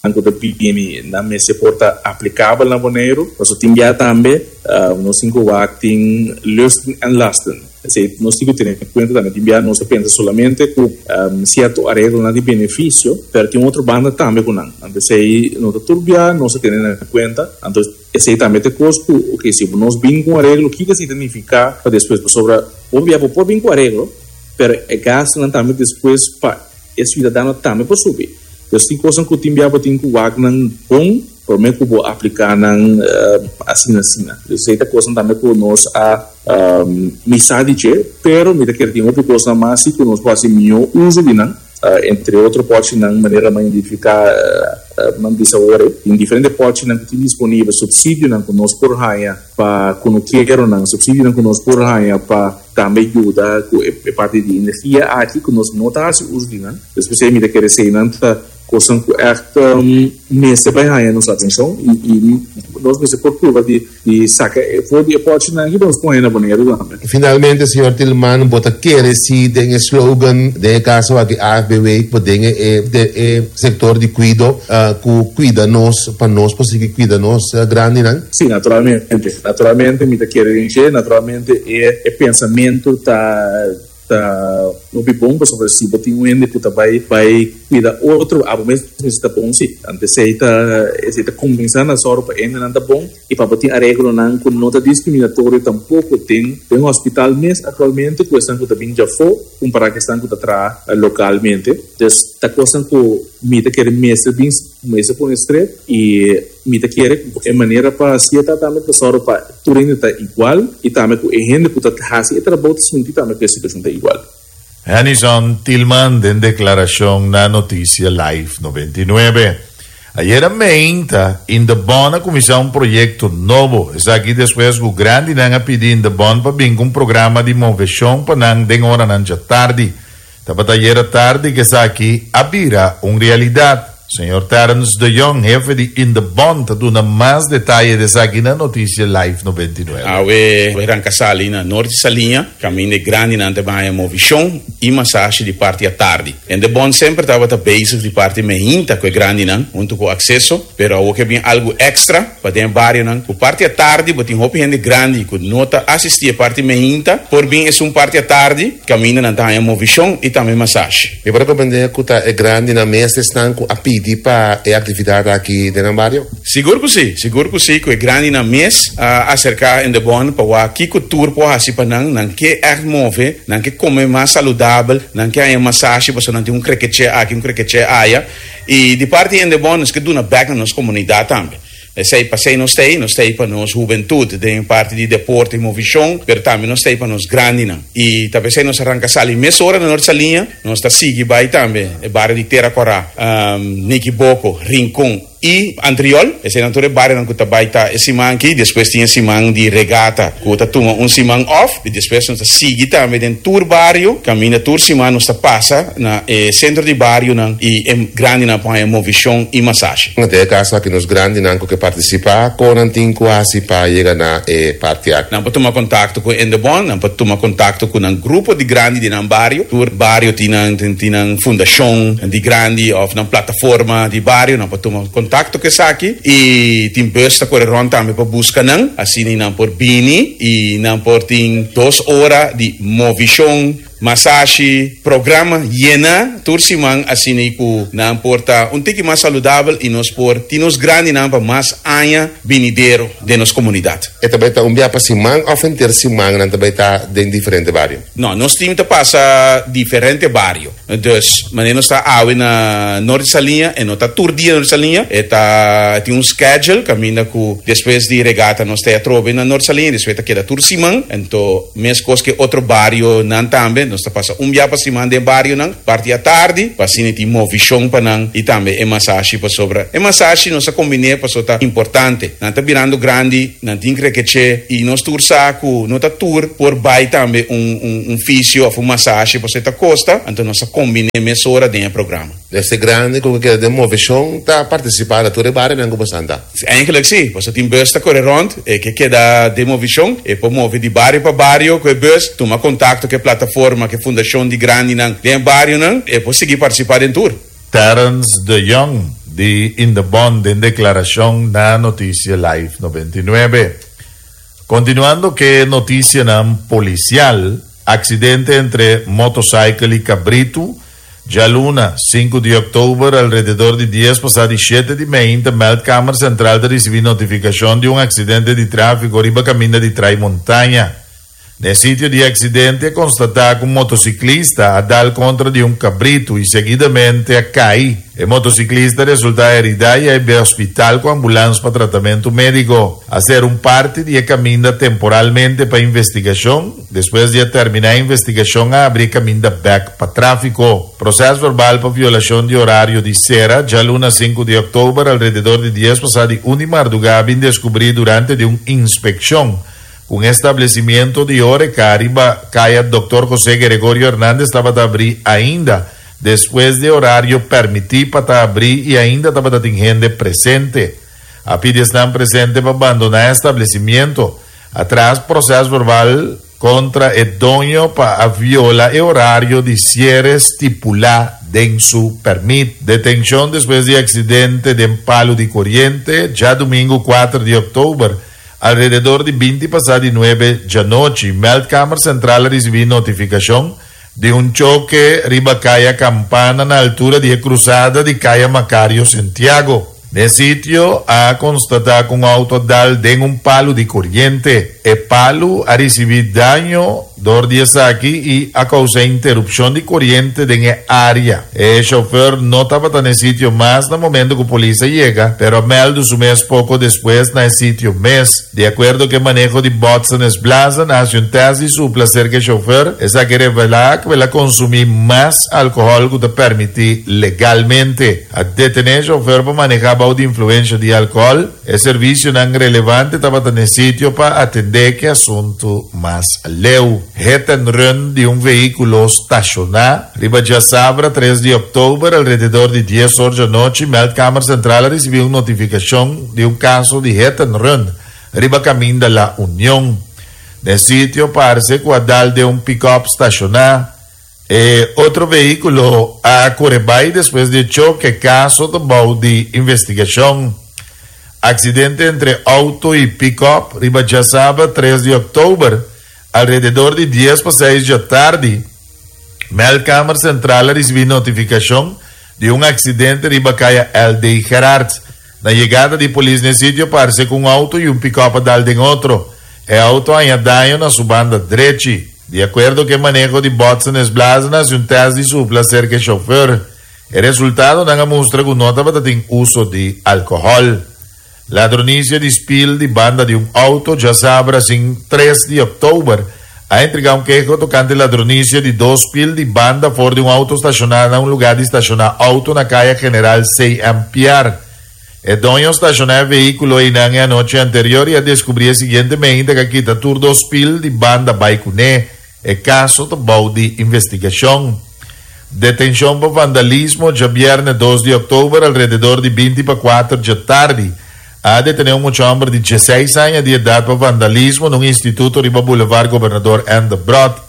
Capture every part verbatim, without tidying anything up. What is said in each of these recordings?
Ku ta bini nan mester por ta aplikabel na Boneiru. Paso tin bia tambe uh, nos tin ku wak tin lusten en lasten. Esei nos tin ku tene kuenta tambe. Tin bia nos ta pensa solamente ku um, sierto areglonan di benefisio, pero tin otro banda tambe ku nan. Anto esei no ta tur bia nos ta tene na kuenta. Anto esei tambe ta kos ku, ok, si nos bin ku areglo, kiko esei ta nifiká pa despues? Pasobra bo bia por bin ku areglo, pero e gastonan tambe despues pa e siudadano tambe por subi. Dus tin kos ku tin bia bo tin ku wak nan bon, promé ku bo apliká nan uh, asina asina. Dus esei ta kos tambe ku nos a um, misa di dje, pero mi ta kere tin hopi kos mas ku nos por hasi mihó uso di nan. Uh, entre otro pòchinan manera m'a identifiká uh, uh, m'a bisa awor, tin diferente pòchinan ku tin disponibel, supsidionan ku nos por haña pa kunukeronan, supsidionan ku nos por haña pa tambe yuda ku e parti di energia aki ku nos no ta hasi uso di nan. Despues mi ta kere eseinan ta kosnan ku echt um, mester bai haña nos atenshon i, i nos mester por prueba di, di saka for di e pòchinan aki nos pone na Boneiru tambe. Finalmente, señor Tilman, bo ta kere si den slogan, den kaso aki A F B W, ku den e, de, e sektor di kuido, uh, ku kuida nos, pa nos por sigui kuida nos uh, grandinan? Sí, naturalmente. Naturalmente, mi ta kere, naturalmente, e, e pensamentu ta ta hopi bon, pasobra si bo tin un hende ku ta bai bai kuida otro, abo mes ta bon sí. Anto esei ta esei ta kuminsá na sòru pa hendenan ta bon i pa bo tin areglonan ku no ta diskriminatorio tampoko den den hospital mes aktualmente ku esnan ku ta bin djafó kompará ku esnan ku ta traha lokalmente. Dus ta kosnan ku mi ta kere mester bin mester pone strep i mi ta kere e manera pa hasié ta tambe pa sòru pa tur hende ta igual i tambe ku e hende ku ta hasi e trabou ta sinti tambe ku e situashon ta igual. Hennyson Thielman den deklarashon na Notisia Live nobenta i nuebe. Ayera mainta, Indebon a kuminsá un proyekto nobo. Esaki despues ku grandinan a pidi Indebon pa bin ku un programa di moveshon pa nan den oranan djatardi. Tabata ayera tardi ku esaki a bira un realidat. Señor Terence de Jong, hefe di Indebon, ta duna mas detaye di esaki na Notisia Live nobenta i nuebe. Awe a ranka sali na Noord Saliña, kaminda grandinan ta haña moveshon i masashi di parti atardi. Indebon semper tabata bezig di parti mainta ku e grandinan, huntu ku Akseso, pero awor ke bin algu èkstra pa den barionan. Ku parti atardi, bo tin hopi hende grandi ku no ta asistí parti mainta, por bin esun parti atardi, kaminda nan ta haña moveshon i tambe masashi. Mi por komprondé ku ta e grandinan mes esnan ku a pidi pa e aktividat aki den bario? Sigur ku sí, sigur ku sí, ku e grandinan mes a aserká Indebon pa wak kiko tur por hasi pa nan, nan ke echt move, nan ke kome mas saludabel, nan ke haña masashi, pasobra nan tin un krekeché aki, un krekeché aya. I di parti Indebon, nos ke duna back na nos komunidat tambe. Esei p'esei nos t'ei, nos t'ei pa nos hubentut, den parti di deporte i moveshon, pero tambe nos t'ei pa nos grandinan. I tambe esei nos a ranka sali mesora na Noord Saliña, nos ta sigui bai tambe, e bario di Tera Kòrá, um, Nikiboko, Rincon i Antriol. Eseinan tur e barionan ku ta bai ta e siman aki, despues tin e siman di regata, ku ta tuma un siman off, i despues nos ta sigui tambe den tur bario, kaminda tur siman nos ta pasa na e sentro di barionan i e grandinan por haña moveshon i masashi. Den kaso aki nos grandinan ku ke partisipá, kon nan tin ku hasi pa yega na e parti aki? Nan por tuma kontakto ku Indebon, nan por tuma kontakto ku nan grupo di grandi di nan bario. Tur bario tin nan tin nan fundashon di grandi òf nan plataforma di bario, nan por tuma kontakto ku esaki i tin bus ta kore rònt tambe pa buska nan, asina nan por bini i nan por tin dos ora di moveshon, masashi, programa yená tur siman, asina ku nan por ta un tiki mas saludabel i nos por tin nos grandinan pa mas aña binidero den nos komunidat. E tambe ta un bia pa siman òf henter siman nan tambe ta den diferente bario? No, nos tim ta pasa diferente bario. Dus, manera nos ta awe na Noord Saliña, e no ta tur dia Noord Saliña, e ta tin un schedule, kaminda ku despues di regata nos ta atrobe na Noord Saliña, despues ta keda tur siman, anto meskos ku otro barionan tambe, nos ta pasa un bia pa siman den barionan, parti atardi, pa asina tin moveshon pa nan i tambe e masashi pasobra. E masashi nos a kombiná pasobra ta importante. Nan ta birando grandi, nan tin krekeché i nos tur sa ku no ta tur por bai tambe un un un fisio òf un masashi pasobra ta kosta, anto nos a kombiná mesora den e programa. E grandi ku ke den moveshon ta partisipá na tur barionan ku boso ta? Eigenlijk sí, pasobra tin bus ta kore rònt, e ke keda den moveshon, e por move di bario pa bario ku e bus, tuma kontakto ku e plataforma, ku e fundashon di grandinan den barionan, e por sigui partisipá den tur. Terence de Jong, Di Indebon den deklarashon na Notisia Live nobenta i nuebe. Kontinuando ku notisianan polisial, aksidente entre motorcycle i kabritu. Djaluna, sinku di òktober, alrededor di dies pasá di shete di mainta, Meldkamer Sentral a risibí notifikashon di un aksidente di tráfiko riba kaminda di Trai Montaña. Na sitio di aksidente, a konstatá ku un motosiklista a dal kontra di un kabritu i seguidamente a kai. E motosiklista a resultá heridá i a bai hospital ku ambulans pa tratamentu médiko. A sera un parti di kaminda temporalmente pa investigashon. Despues di terminá e investigashon, a habri kaminda bèk pa tráfiko. Proseso verbal pa violashon di orario di sera. Djaluna sinku di òktober, alrededor di dies pasá di un di mardugá, a deskubrí durante di un inspekshon un establesimentu di horeca riba Kaya Dòkter José Gregorio Hernández tabata habrí ainda despues di orario permití pa habri i ainda tabatin hende presente. A pidi esnan presente pa bandoná e establesimentu. A traha proseso verbal kontra e doño pa violá e orario di siere stipulá den su pèrmit. Detenshon despues di aksidente den palu di koriente. Djadumingu kuater di òktober, alrededor di binti pasá di nuebe di anochi, Meldkamer Sentral a risibí notifikashon di un choke riba Kaya Kampana na altura di krusada di Kaya Macario Santiago. Na sitio a konstatá ku un outo a dal den un palu di koriente. E palu a risibí daño dor di esaki i a kousa interupshon di koriente den e área. E shofùr no tabata na e sitio mas na momento ku polis a yega, pero a mèldu su mes poko despues na e sitio mes. Di akuerdo ku e maneho di botsen is blazen, a hasi un tèst di supla serka e shofùr, esaki a revelá ku el a konsumí mas alkohòl ku ta permití legalmente. A detené e shofùr pa manehá bou di influensia di alkohòl. E servisionan relevante tabata na sitio pa atendé ku e asuntu mas leu. Hit and run di un vehíkulo stashoná. Riba djasabra tres di òktober, alrededor di dies or di anochi, Meldkamer Sentral a risibí un notifikashon di un kaso di hit and run riba kaminda La Unión. Na sitio parse ku a dal den un pick-up stashoná. E otro vehíkulo a kore bai despues di choke. Kaso ta bou di investigashon. Aksidente entre outo i pick-up riba djasabra tres di òktober, alrededor di dies pa seis di atardi, Meldkamer Sentral a risibí notifikashon di un aksidente riba Kaya L D. Gerard. Na yegada di polis na sitio, parse ku un outo i un pick-up a dal den otro. E outo a haña daño na su banda drechi. Di akuerdo ku e maneho di botsen is blazen, a hasi un tèst di supla serka e shofùr. E resultadonan a mustra ku no tabatin uso di alkohòl. Ladronisia di spil di banda di un outo. Djasabra tres di òktober, a entregá un keho tokante ladronisia di dos spil di banda for di un outo stashoná na un lugá di stashoná outo na Kaya General C M. Piar. E doño a stashoná e vehíkulo einan e anochi anterior i a deskubrí siguientemente ku a kita tur dos spil di banda bai kuné. E kaso ta bou di investigashon. Detenshon pa vandalismo. Djabièrnè dos di òktober, alrededor di binti pa kuater di atardi, a detené un hòmber di diesseis aña di edat pa vandalismo den un instituto riba Boulevard Gobernador N. Debrot.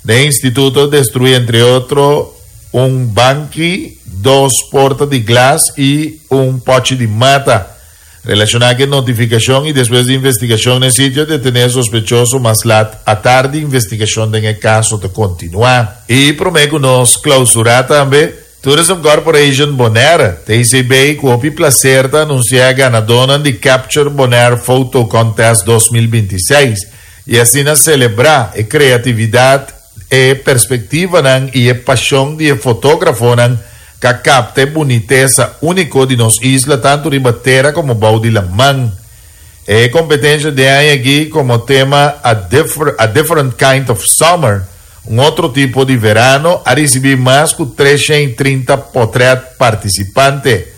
E instituto a destruí, entre otro, un banki, dos porta di glas i un pòchi di mata. Relashoná ku notifikashon i despues di investigashon na sitio, a detené sospechoso mas lat atardi. Investigashon den kaso ta kontinuá. I promé ku nos klousurá tambe, Tourism Corporation Bonaire, T C B, ku plaser ta anunsiá ganadó di Capture Bonaire Photo Contest dos mil bintiseis i asina selebrá e kreatividat, e perspektiva i e pashon di fotógrafonan ku a kapta bunitesa úniko di nos isla, tantu riba tera komo bou di laman. E kompetensia di aña aki komo tema a, differ, a Different Kind of Summer, un otro tipo di verano, a risibí mas ku treshen trinta potrèt partisipante.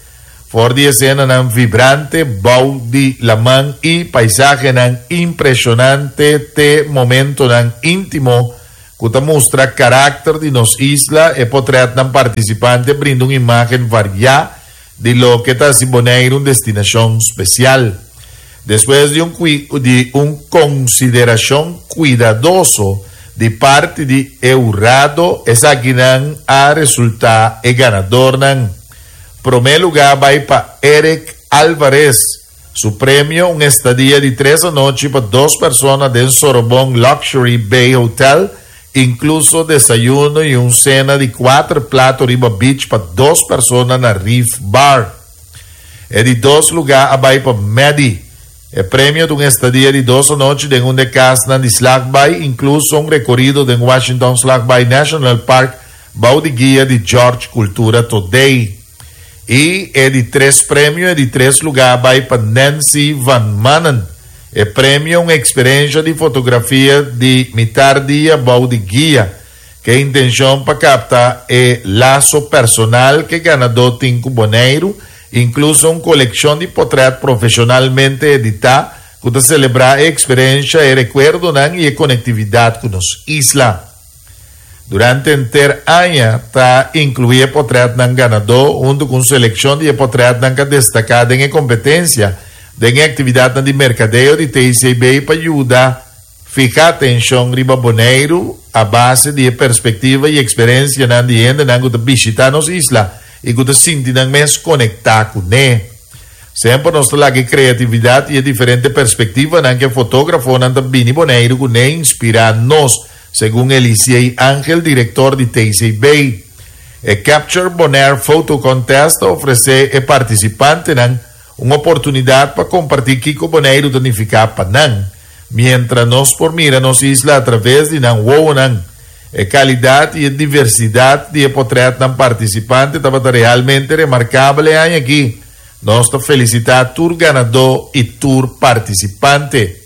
For di esenanan vibrante, bou di laman i paisahenan impreshonante, te momentonan íntimo, ku ta mustra karakter di nos isla, e potrètnan partisipante a brinda un imágen variá di loke ta hasi Boneiru un destinashon spesial. Despues di un, di un konsiderashon kuidadoso di parti di e hurado, esakinan a resultá e ganadónan. Promé lugá a bai pa Eric Alvarez. Su premio, un estadia di tres anochi pa dos persona den Sorobon Luxury Bay Hotel, inkluso desayuno i un sena di kuater plato riba beach pa dos persona na Reef Bar. E di dos lugá a bai pa Medi. E premio ta un estadia di dos anochi den un di e kasnan di Slagbaai, inkluso un rekorido den Washington Slagbaai National Park, bou di guia di George Cultura Today. I e di tres premio, e di tres lugá a bai pa Nancy Van Manen. E premio un eksperensia di fotografia di mitar dia bou di guia, ku intenshon pa kapta e laso personal ku e ganadó tin ku Boneiru, inkluso un kolekshon di portrèt profeshonalmente editá, ku ta selebrá e eksperensia i rekuerdonan i e konektividat ku nos isla. Durante henter aña ta inkluí portrètnan ganadó huntu ku selekshon di portrètnan ku a destaká den kompetensia den aktividat di merkadeo di T C B pa yuda fiha atenshon riba Boneiru a base di perspektiva i eksperensia nan di hendenan ku ta bishitá nos isla i ku ta sinti nan mes konektá kuné. Semper nos ta laga kreatividat i diferente perspektivanan ku fotógrafonan ta bini Boneiru kuné inspirá nos, segun Elisei Angel, direktor di T C B. E Capture Bonaire Photo Contest ta ofresé e partisipantenan un oportunidat pa kompartí kiko Boneiru ta nifiká pa nan, mientras nos por mira nos isla a traves di nan wowonan. E kalidat i diversidat di portrètnan partisipante tabata realmente remarkabel aki. Nos ta felisitá tur ganadó i tur partisipante.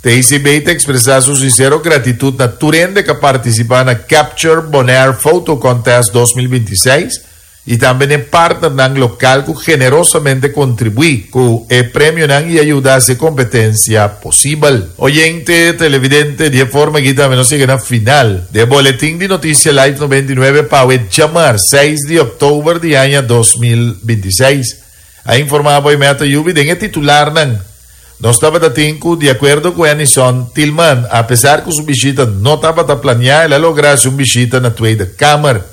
T C B ta ekspresá su sinsero gratitut na tur hende ku a partisipá na Capture Bonaire Photo Contest dos mil bintiseis i tambe na partnernan lokal ku generosamente a kontribuí ku e premionan i a yuda e kompetensia posibel. Oyente, televidente, di forma ku tambe nos a yega na final di Boletin di Notisia Live nobenta i nuebe pa djamars seis di òktober di aña dos mil bintiseis. A informá Meta Yubi den titularnan. Nos tabatin ku, di akuerdo ku Enison Tilman, apesar ku su bishita no tabata planiá, el a logra un bishita na Tweede Kamer.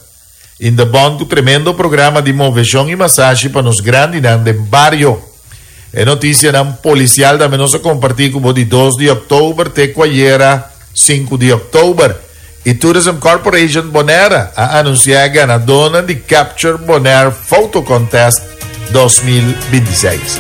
Indebon ku tremendo programa di moveshon i masashi pa nos grandinan den bario. E notisianan polisial tambe nos a kompartí ku di dos di òktober te ku ayera sinku di òktober. I Tourism Corporation Bonaire a anunsiá ganadó di Capture Bonaire Photo Contest dos mil bintiseis.